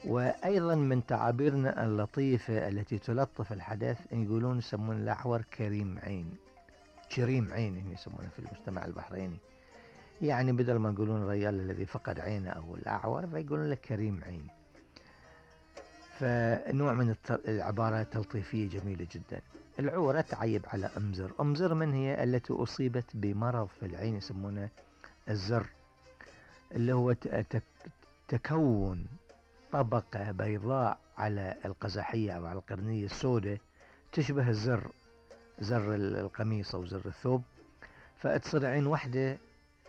وأيضا من تعابيرنا اللطيفة التي تلطف الحدث يقولون يسمون الأعور كريم عين، كريم عين يسمونه في المجتمع البحريني، يعني بدل ما يقولون الرجال الذي فقد عينه أو الأعور فيقولون له كريم عين. فنوع من العبارة تلطيفية جميلة جدا. العورة تعيب على أمزر. أمزر من هي؟ التي أصيبت بمرض في العين يسمونه الزر، اللي هو تكون طبقة بيضاء على القزحية أو على القرنية السوداء تشبه الزر، زر القميص أو زر الثوب، فتصير عين واحدة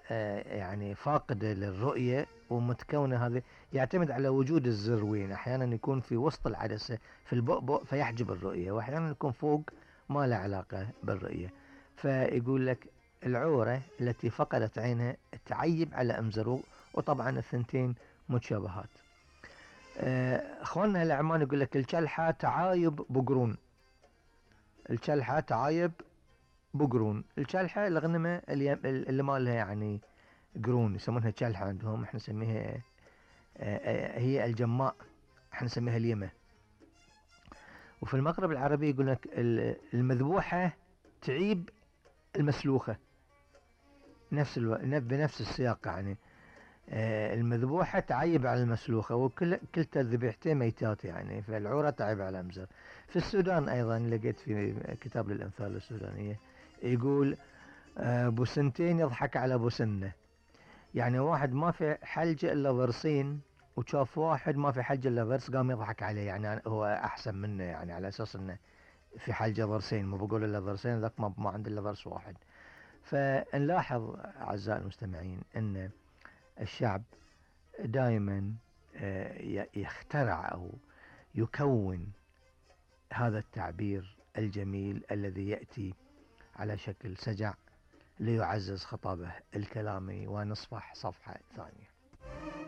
يعني فاقدة للرؤية ومتكونة. هذه يعتمد على وجود الزر وين، أحيانا يكون في وسط العدسة في البؤبؤ فيحجب الرؤية، وأحيانا يكون فوق ما له علاقة بالرؤية. فيقول لك العورة التي فقدت عينها تعيب على أمزر، وطبعا الثنتين متشابهات. اخواننا الأعمان يقول لك الكلحة تعايب بقرون. الكلحة تعايب بقرون. الكلحة الغنمة اللي ما لها يعني قرون يسمونها كلحة عندهم، احنا نسميها هي الجماء، احنا نسميها اليمة. وفي المغرب العربي يقول لك المذبوحة تعيب المسلوخة، بنفس السياق يعني. المذبوحة تعيب على المسلوخة، وكلتا الذبيحتين ميتات يعني، فالعورة تعيب على المزر. في السودان أيضا لقيت في كتاب للأمثال السودانية يقول بوسنتين يضحك على بوسنة، يعني واحد ما في حلجة إلا ضرسين وشاف واحد ما في حلجة إلا ضرس قام يضحك عليه، يعني هو أحسن منه، يعني على أساس أنه في حلجة ضرسين، ما بقول إلا ضرسين، ذاك ما عنده إلا ضرس واحد. فنلاحظ أعزائي المستمعين أن الشعب دائما يخترع أو يكون هذا التعبير الجميل الذي يأتي على شكل سجع ليعزز خطابه الكلامي. ونصفح صفحة ثانية.